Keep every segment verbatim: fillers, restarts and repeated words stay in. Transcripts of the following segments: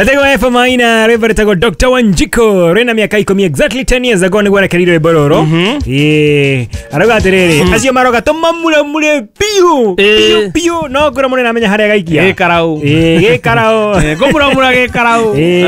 Etagwo F Maina, rwĩmbo rwĩtagwo Doctor Wanjiko, rwĩna mĩaka ikũmi, exactly ten years ago nĩguo arekereirie rwĩmbo rũrũ. Ĩĩ, arauga atĩrĩrĩ, acio maroga tũmamuramure biũ biũ biũ, no ngũrwo mũnene amenya harĩa agaikia. Gĩkarau. Ĩĩ, gĩkarau. Ngũmuramura gĩkarau. Ĩĩ.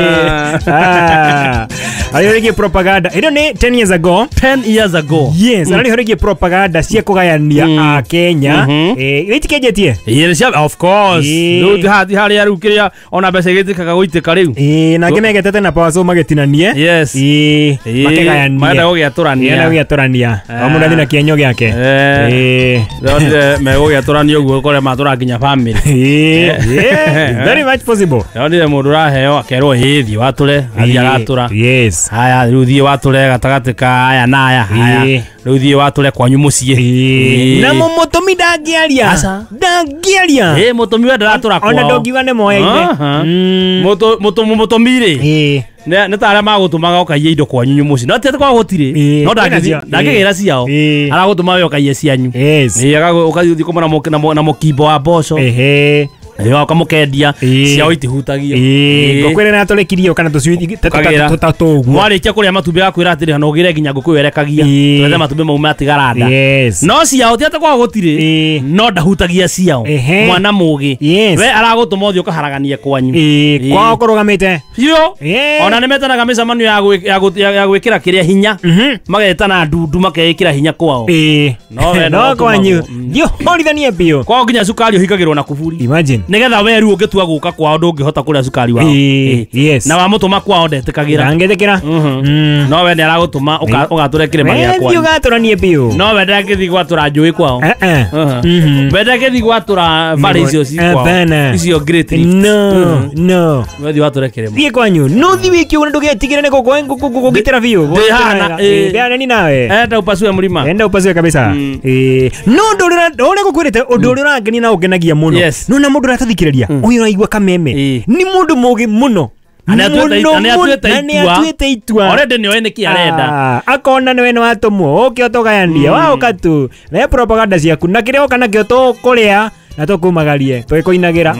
Ah. Arĩho rĩgiĩ propaganda ĩno nĩ ten years ago. ten years ago. Yes, arĩho rĩgiĩ propaganda cia kũgayania a Kenya. Ĩĩ, ĩtikĩnjĩtie. Ĩĩ, cia of course. Ĩĩ. Rĩu ti haha, ti harĩa rĩu kĩrĩa ona mbeca igĩtĩkaga gũitĩka rĩu. Ĩĩ, na angĩ megetete na Power Saw magĩtinanie. Yes. Ĩĩ, Ĩĩ, makĩgayanie. marenda gũgĩatũrania. Marenda gũgĩatũrania. O mũndũ athiĩ na kĩenyo gĩake. Eh. Ĩĩ. Ndĩronire megũgĩatũrania ũguo ũkore matũra nginya family. Ĩĩ, yeah, very much possible. Ndĩronire mũndũ ũraheo akerwo ĩĩ thiĩ watũre, athiĩ agatũra. Yes. Haya, rĩu thiĩ watũre gatagatĩ ka aya na aya. Haya, Ĩĩ. rĩu thiĩ watũre kwanyu mũciĩ. Ĩĩ. Ĩĩ. Na mũmũtũmi ndangĩaria. Aca. Ndangĩaria. Ĩĩ, mũtũmi we ndaratũra kwao. Ona ndũngiuga nĩ moyaine. Aha. Mm. Mũtũ- mũtũ- mũtũmi rĩ, Ĩĩ. nĩ nĩ ta arĩa magũtũmaga ũkaiye indo kwanyu mũciĩ, no ti atĩ kwao gũtirĩ, Ĩĩ. no Kwĩna ndangĩthiĩ- cio. ndangĩgĩra ciao. Ĩĩ. Aragũtũma we ũkaiye cianyu. Yes. Ĩĩ, agagũ- ũgathiĩ kũmwe na mũ- na mũ- na mũkimbo wa mboco. Ehe. Ĩĩ, ũkamũkendia. Ĩĩ. Ciao itihutagio. Ĩĩ, Ĩĩ. ngũkũ ĩrĩa natũrĩkirie kana tũcui Ũkagĩra. tũtatũ ũguo. Mwarĩkia kũrĩa matumbĩ agakwĩra atĩrĩ, na ũgĩre nginya ngũkũ ĩyo ĩrekagia. Ĩĩ. Twethe matumbĩ mau matigara nda. Yes. No ciao ti atĩ kwao gũtirĩ, Ĩĩ. no ndahutagia ciao. Ehe. Mwana mũgĩ. Yes. We aragũtũma ũthiĩ ũkaharaganie kwanyu. Ĩĩ, Ĩĩ. kwao kũrũgamĩte. Biũ. Ĩĩ. Ona nĩ metanaga mĩcemanio ya gwĩ- ya gũ- ya- ya gwĩkĩra kĩrĩa hinya. Mhm. Magetana ndundu makeĩkĩra hinya kwao. Ĩĩ. No we no no kwanyu. ũtũmagwo. Thiĩ ũhorithanie biũ. Kwao nginya cukari ũhingagĩrwo na kuburi. Imagine. Nĩgetha we rĩu ũngĩtua gũka kwao ndũngĩhota kũrĩa cukari wao. Ĩĩ, Ĩĩ. yes. Na wamũtũma kwao ndetĩkagĩra. Ndangĩtĩkĩra. Mm. No we nĩ aragũtũma ũka- ũgatũre kĩrĩma gĩa We thiĩ kwanyu. ũgatũranie biũ. No we ndangĩthiĩ gwatũra njũĩ kwao. Eh, eh. Mhm. We ndangĩthiĩ gwatũra bara icio ci kwao. Hapana. Icio Great Rift. No, no. We thiĩ watũre kĩrĩma. Thiĩ kwanyu. No thiĩ wĩke ũguo na ndũgetigĩre nĩ gũkũgitĩra biũ. Ndĩ hana, ĩĩ. Ndĩ ni nawe. Enda upasue mlima. Enda upasue kabisa. Mm. Ĩĩ. No ũndũ ũrĩa ũrĩa ngũkwĩrĩte, ũndũ ũrĩa ũrangenia na ũngenagia mũno. Yes. No na mũndũ ũratũthikĩrĩria, ũyũ ũraigua kameme. Ĩĩ. Nĩ mũndũ mũgĩ mũno. Na nĩ atuĩte- Mũno na nĩ atuĩte mũno. Na nĩ itua. atuĩte itua. Already nĩoĩ nĩkĩ arenda. Ah, akona nĩwe nĩ watũmwo ũke ũtũgayanie, waũka tu rehe propaganda ciaku na kĩrĩa woka nakĩo tũkũrĩa na tũkumagarie tũgĩkũinagĩra.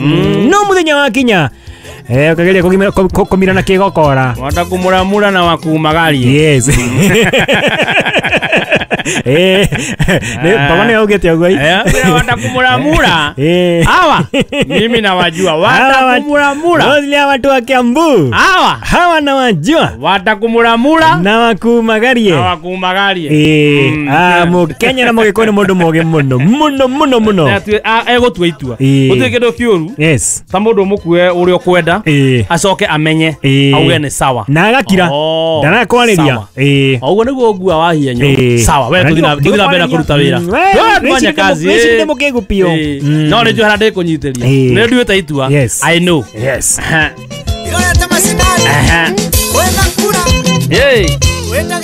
No mũthenya wakinya, eh, ũkageria kũgimĩra- kũ- kũ- kũmira na kĩgokora. Wanda kũmuramura na wakumagarie. Yes. Eh, nĩ- baba nĩwe augĩte ũguo. Eh, wanda kumuramura. Eh. Hawa mimi nawajua. Wanda Hawa watu- kumuramura. Mostly hawa watu wa Kiambu Hawa hawa nawajua wanda kumuramura na wakumagarie. na wakumagarie. Ĩĩ, Mm. ah, Mũkenya na Mũgĩkũyũ nĩ mũndũ mũgĩ mũno mũno mũno mũno. Nĩ atue- a- egũtua itua. Ĩĩ. Gũtirĩ kĩndũ kĩũru Yes. ta mũndũ ũmũkue ũrĩa ũkwenda, Ĩĩ. acoke amenye, Ĩĩ. auge nĩ sawa. Na agakira. Oh, Ndarakwarĩria. sawa. Ĩĩ. O ũguo nĩguo ũngua wahienyo. Ĩĩ. Sawa, we tũthiĩ na- tũthiĩ na mbere na kũruta wĩra. Mm, we, We, wĩcirie fanya kazi. wĩcirie Ĩĩ. mũkĩgu biũ. Ĩĩ. Mm. No nĩ njũĩ harĩa ndĩkũnyitĩria. Ĩĩ. Nĩ nduĩte itua. Yes. I know. Yes. Aha. Irorete macinani Aha. wena kura Ĩĩ. wenda.